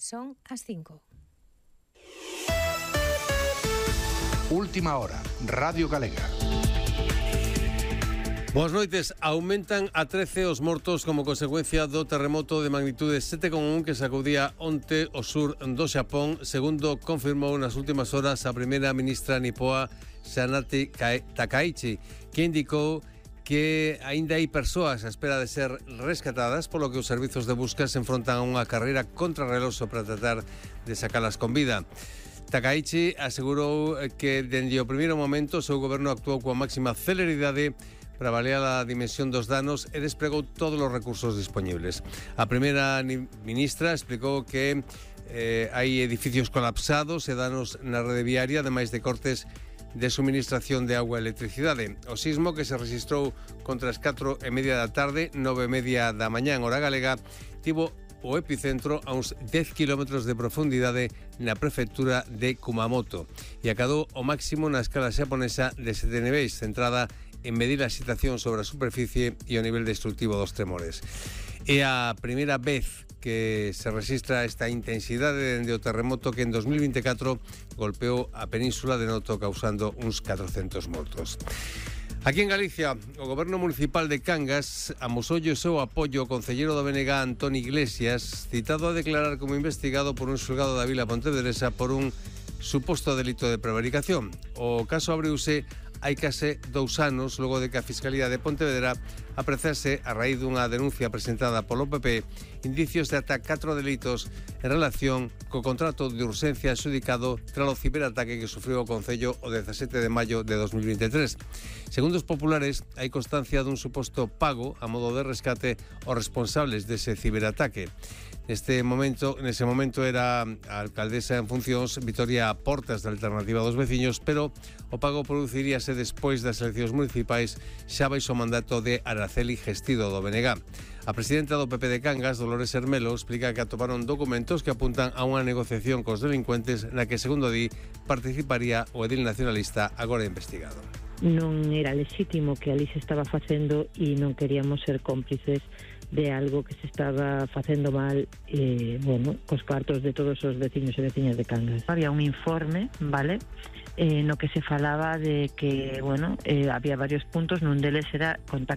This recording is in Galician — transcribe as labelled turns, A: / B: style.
A: Son as 5.
B: Última hora, Radio Galega.
C: Boas noites. Aumentan a 13 os mortos como consecuencia do terremoto de magnitude 7,1 que sacudía onte o sur do Xapón, segundo confirmou nas últimas horas a primeira ministra nipoa Sanati Takaichi, que indicou que aínda hai persoas á espera de ser rescatadas, polo que os servizos de busca se enfrontan a unha carreira contrarreloxo para tratar de sacalas con vida. Takaichi asegurou que dende o primeiro momento o seu goberno actuou coa máxima celeridade para avaliar a dimensión dos danos e desplegou todos os recursos disponibles. A primeira ministra explicou que hai edificios colapsados e danos na rede viaria, ademais de cortes de suministración de agua e electricidade. O sismo, que se registrou contra as 4:30 da tarde, 9:30 da mañá en hora galega, tivo o epicentro a uns 10 km de profundidade na prefectura de Kumamoto e acadou o máximo na escala xaponesa de 7 niveis, centrada en medir a excitación sobre a superficie e o nivel destructivo dos tremores. É a primeira vez que se registra esta intensidade dende o terremoto que en 2024 golpeou a península de Noto, causando uns 400 mortos. Aquí en Galicia, o Goberno Municipal de Cangas amosoulle o seu apoio ao concelleiro do BNG, Antón Iglesias, citado a declarar como investigado por un xulgado da Vila Pontevedresa por un suposto delito de prevaricación. O caso abriuse hai case 2 anos, logo de que a Fiscalía de Pontevedra apreciase, a raíz dunha denuncia presentada polo PP, indicios de ata 4 delitos en relación co contrato de urxencia adxudicado tras o ciberataque que sufriu o Concello o 17 de maio de 2023. Segundo os populares, hai constancia dun suposto pago a modo de rescate aos responsables dese ciberataque. Nese momento era a alcaldesa en funcións Vitoria Portas, da Alternativa dos Veciños, pero o pago produciríase despois das eleccións municipais xa baixo o mandato de Araceli Gestido do BNG. A presidenta do PP de Cangas, Dolores Hermelo, explica que atoparon documentos que apuntan a unha negociación cos delincuentes na que, segundo di, participaría o edil nacionalista agora investigado.
D: Non era lexítimo que ali se estaba facendo e non queríamos ser cómplices de algo que se estaba facendo mal, cos cartos de todos os veciños e veciñas de Cangas. Había un informe, vale, no que se falaba de que, había varios puntos, nun deles era